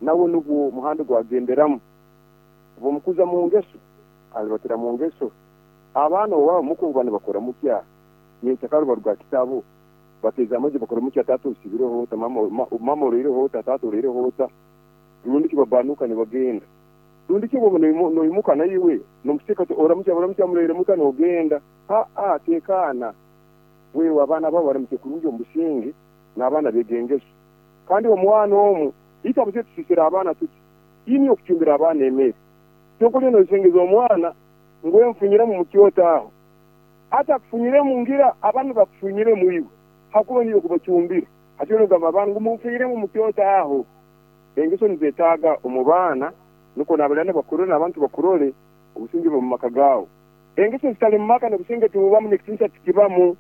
Nawe nugwo muhanda gwagenderamu. Obu omukuza mu ngeso, alibatira mu ngeso. Abaana owabo muka obu baba nibakora mutya, nyenkyakara baruga ha kitabu, bateeza amaju bakora mutya, taata osibireho ota, mama oroireho ota, taata oroireho ota, rundi ki babanuka nibagenda. Rundi ki obu noimuka naiwe nomusika oti oramukya buramukya muroire muta nogenda. Haa, tekaana. Wewe abaana bawe baramukye kurungi omu businge, n'abaana beege engeso. Kandi omwana omu, itwe abazaire tusisira abaana tuti, inywe okucumbira abaana emere. Kyonka oliyo noyesengeza omwana ngu enfunyiremu mu kyoto aho. Hati akufunyiremu ngira abaana bakufunyiremu iwe hakuba niiwe okubacumbira. Hati oliyo nogamba abaana ngu munfunyiremu mu kyoto aho. Engeso nizetaaga omu baana nukwo n'abalirana bakurole n'abantu bakurole obusinge bube mu maka gaawe. Engeso zitali mu maka n'obusinge tibubamu n'ekitinisa tikibamu.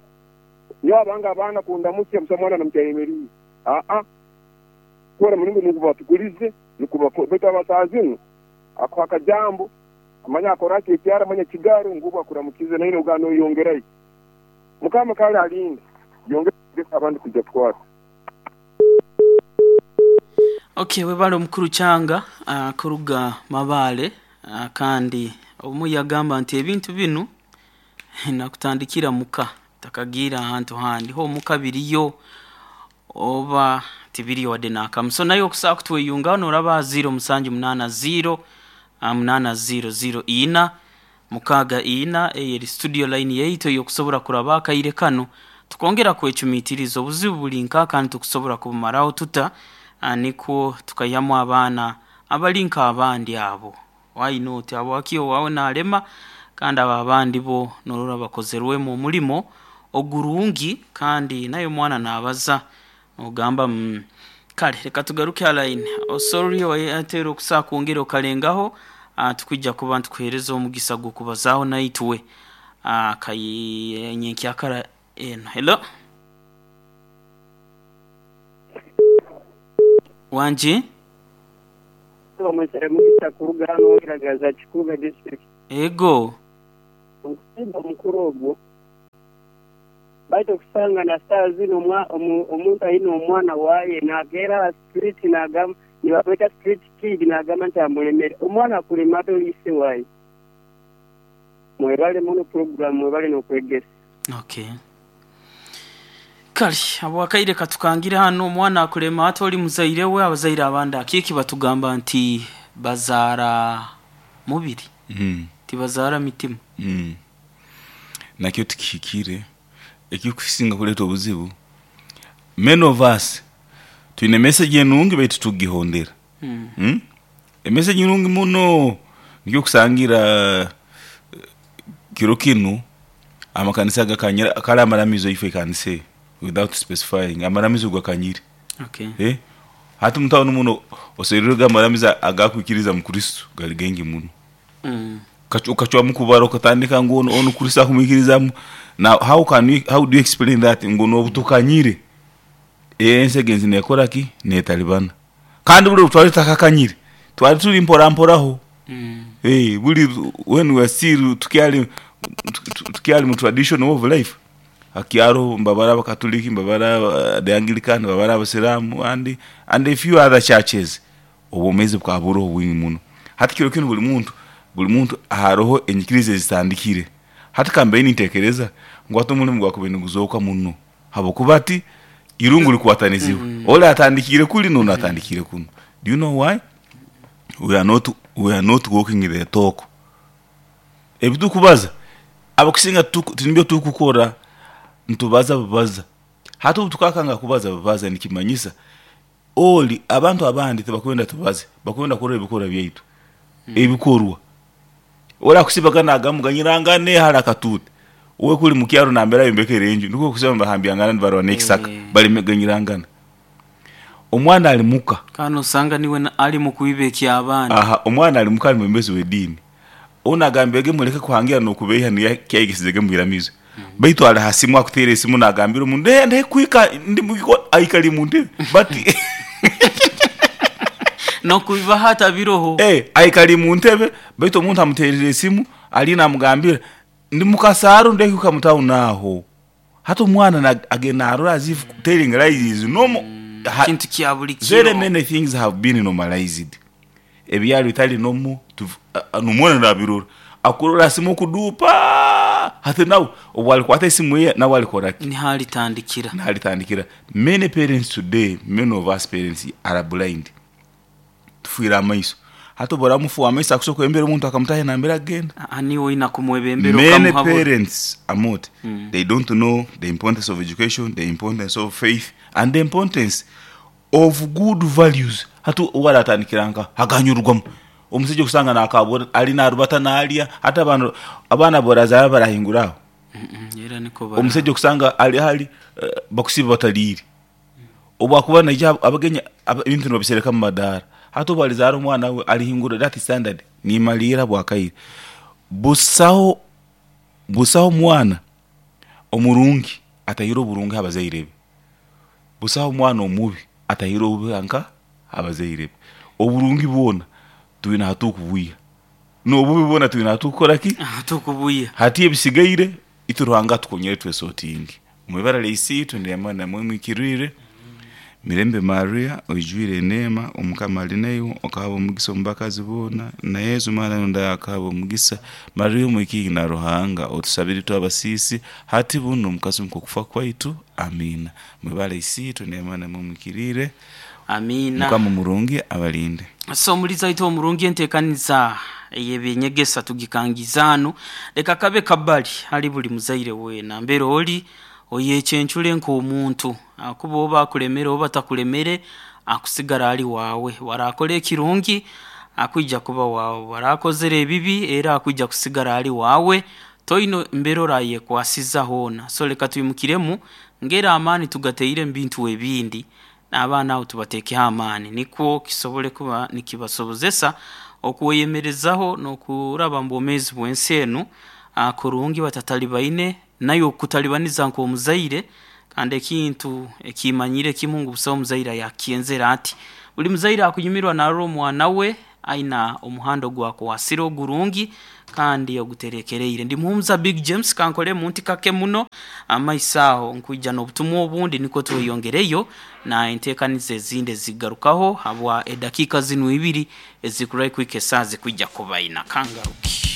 Nyowe abange abaana kundamukya busaho mwana namukya ayemeriire. Aa, kora mulingo nukwo batukulize nukwo bakora. Baitu aba zinu akuha akajambo amanya akora ki ekyara amanya kigaro ngu obu akuramukize naine ogana noyongerayo. Mukama kale alinde yongera abandi kwija kukwata. Okay, webale omukuru Kyanga kuruga Mabaale kandi omu yagamba nti ebintu binu nakutandikira muka takagiire ahantu handi ho omuka biriyo oba tibiriyo wadde nakamu. So naye okusobola kutweyungaho noraba aha 0 musanju munaana 0 munaana 0 0 ina mukaaga ina eyo eri studio line yaitu ey'okusobora kuraba akaire kanu tukongera kwecumitiriza obuzibu buli nka kandi tukusobora kubumaraho tuta nikwo tukaihamu abaana abali nk'abandi abo. Why not? Habwaki owaawe nalema kandi abo abandi bo norora bakozerwemu omulimo ogurungi kandi naye omwana nabaza nogamba kale leka tugaruke ha line. Sorry owateera okusobola kwongera okalengaho tukwija kuba nitukuheereza omugisa gw'okubazaaho naitwe nyenkyakara eno. Hello? Wangi? Mugisa kuruga hano Iragaza Kikuubo district. Ego. Omusaija omukuru ogwo baitu okusanga na saaha zinu omuntu aine omwana waye nageera aha street nagamba nibamweta street kid nagamba nti amulemere. Omwana akulema ata oli ise waye? Mwebale muno program mwebale nokwegesa. Okay. Kale habwakaire katukangire hanu omwana akulema ata oli muzaire we abazaire abandi akiiki batugamba nti bazaara mubiri tibazaara mitima. Nakyo tikihikire. Ekirikusinga kureeta obuzibu, many of us twine message enungi baitu titukugihondera. Emessage nungi muno nikyo okusangira kiro kinu amakanisa gakanyire kare amaramizo if I can say without specifying amaramizo gakanyire. Okay. Hati omu tawuni muno oserurege amaramizo agakwikiriza mu Kristo gari gaingi muno. Okacwamu kubara okatandika ngu onu Kristo akumwikirizamu. Now how can you, how do you explain that ngu nobu tukanyire ensi egenzi nekora ki? Netalibana. Kandi buri obu twali tutakakanyire twali turi mpora mporaho. Buri when we are still tukyali tukyali mu traditional way of life hakyaro mbabara abakatuliki, mbabara the Anglican, mbabara abasiramu and a few other churches. Obwomezi bukaba buroho bwingi muno. Hati kiro kinu buri muntu buri muntu haroho enyikiriza ezitandikire. Hati kambaire nintekereza ngu hati omurimo gwakubaire niguzooka muno habwokuba hati irungu rikwatanizibwe. Ori atandikiire kuri n'onu atandikiire kunu. Do you know why? We are not, we are not walking the talk. Ebi turikubaza abakusinga tinibyo turikukora, nitubaza bubaza. Hati obu tukakanga kubaza bubaza nikimanyisa ori abantu abandi tibakwenda tubaze, bakwenda kurora ebikorwa byaitu, ebikorwa. Ori akusibaga nagamba muganyirangane hare akatuuti, we kuri mukyaro nambere ayombekere enju nikwo okusiba nibahambyangana nibarwana n'ekisaka bareme kuganyirangana. Omwana ari muka. Kandi osanga niwe ari mu kwiba eky'abandi. Aha, omwana ari muka ari mwebembezi w'ediini. Onu agambirege mureke kuhangira n'okubeiha niyo kyayegesize omu iramizo. Baitu ari ha simu akuteera esimu nagambira omuntu eh ndi kuhika ndi mugiko aikari mu ntebe but N'okwiba hati biroho. Aikari mu ntebe baitu omuntu amuteerire esimu ariyo namugambira ndi mukasaaro ndikuhika mu town aho. Hati omwana agenda narora as if telling lies is normal. Kintu kya buli Very kiro. many things have been normalized ebyali bitali nomu nomwana nabirora, akurora asimu okudupa hati nawe obwalikwata esimu ye nawe alikoraki? Niho alitandikira. Nalitandikira. Many parents today, many of us parents are blind, tufiire amaiso. Hati obu oramufuha amaiso, akusobola kwembera omuntu akamutaha nambere agenda. Niwe oina kumwebembera Many okamuhabura. parents amot they don't know the importance of education, the importance of faith and the importance of good values. Hati owaratandikira nka aganyurwamu omusajja okusanga nakabura ali narubata nalya. Hati abaana abaana borazara barahingura aho? Era niko bara. Omusajja okusanga ali hali bakusiba bataliire, obwakuba naija abagenyi ebintu nibabisereka mumadaara. Hati obu alizaara omwana we alihingura that standard. Nimaliira bwakaire, busaho busaho mwana omurungi atahire oburungi habazaire be, busaho omwana omubi atahire obubi nka habazaire be. Oburungi bwona twine hatukubwiha, n'obubi bwona twine hatukukoraki? Tukubuya. Hati ebisigaire itwe Ruhanga atukonyere twesotinge. Mwibara lya Isiitwe nerya Mwana na Mwoyo Muhikiriire. Mirembe Maria, oijwire eneema, Omukama ali naiwe, okahabwa omugisa omu bakazi boona, na Yesu omwana w'enda akahabwa omugisa. Maria omwikingi na Ruhanga, otusabire itwe abasiisi, hati bunu omu kasumi k'okufa kwaitu. Amiina. Mwibara Isiitwe nerya Mwana na Mwoyo Muhikiriire. Amiina. Mukama omurungi abalinde. So omulizi waitu omurungi, enteekaniza ey'ebyenyegesa tugikangiza hanu. Leka kabe kabali hali buli muzaire weena. Mbere oli oyekyencure nk'omuntu, akuba oba akulemere oba atakulemere, akusigara ali waawe. Warakora ekirungi akwija kuba waawe, warakozere ebibi era akwija kusigara ali waawe. Toine mbere orayekwasiza hoona. So leka twimukiremu ngeri amaani tugateire mu bintu ebindi, n'abaana abo tubateekeho amaani nikwo kisobole kuba nikibasobozesa okweyemerezaho n'okuraba mu bwomeezi bw'ensi enu kurungi batatalibaine nayo okutalibaniza nk'omuzaire. Kandi ekintu ekimanyire kimu ngu busaho omuzaire ayakukyenzere ati. Buli muzaire akunyumirwa narora omwana we aina omuhanda ogwakwasire ogurungi kandi oguterekereire. Ndi Muhumuza Big James, kankolemu nti kake muno amaiso aho nkwija n'obutumwa obundi nikwo tweyongereyo na enteekaniza ezindi ezigarukaho habwa edakiika zinu ibiri ezikurahi kuhika esaaha zikwija kuba ina. Kangaruke.